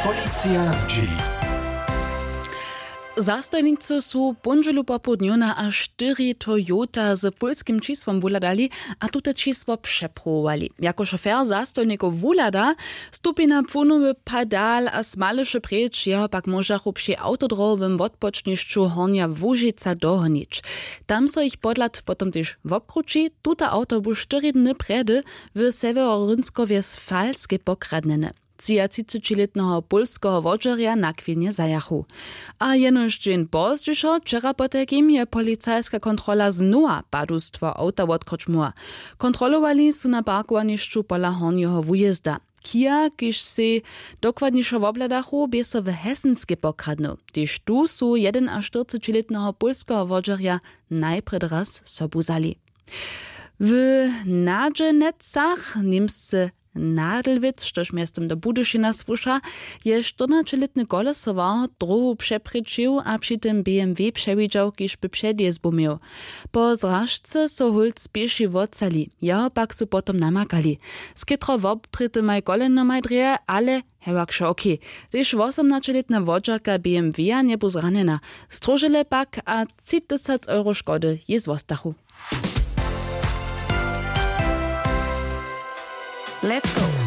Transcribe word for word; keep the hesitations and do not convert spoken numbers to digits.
Policija zdźěli. Zastojnicy su póndźelu popołdnju na a štyri Toyota z pólskim čisłom wuhladali a tute čisło přepruwowali. Jako šofer zastojnikow wuhlada, stupi na płunowy padal a smaleše preč, jeho pak móžachu při awtodrowowym wotpočnišću Hornja Łužica dohonić. Tam so jich podhlad potom tež wobkrući. Tuta awto bu štyri dny prjedy w sewjerorynkowje z Falskej pokradnjene. Třiatřicećilětneho pólskeho wodźerja nakwilnje zajachu. A jenož dźeń pozdźišo, wčera potajkim, je policajska kontrola znowa padustwo awta wotkryć móhła. Kontrolowali su na parkowanišću pola hornjeho wujězda. Kia, kiž sej dokładnišo wobhladachu, bě so w Hesenskej pokradnył. Tež tu su jedenaštyrcećilětneho pólskeho wodźerja najprjedy raz sobu wzali. W Nadźenecach, němsce Nadelwitz, štož mjeztym do Budyšina słuša, je štyrnaćelětny kolesowar dróhu přeprěčił a při tym B M W přewidźał, kiž by předjězbu měł. Po zražce so hólc pěši wotcali, jeho pak su potom namakali. Z chětro wobtrětymaj kolenomaj drje, ale hewak wšo ok. Tež wosomnaćelětna wodźerka B M W-a njebu zranjena. Stróžele pak a tři tysac euro škody jej zwostachu. Let's go.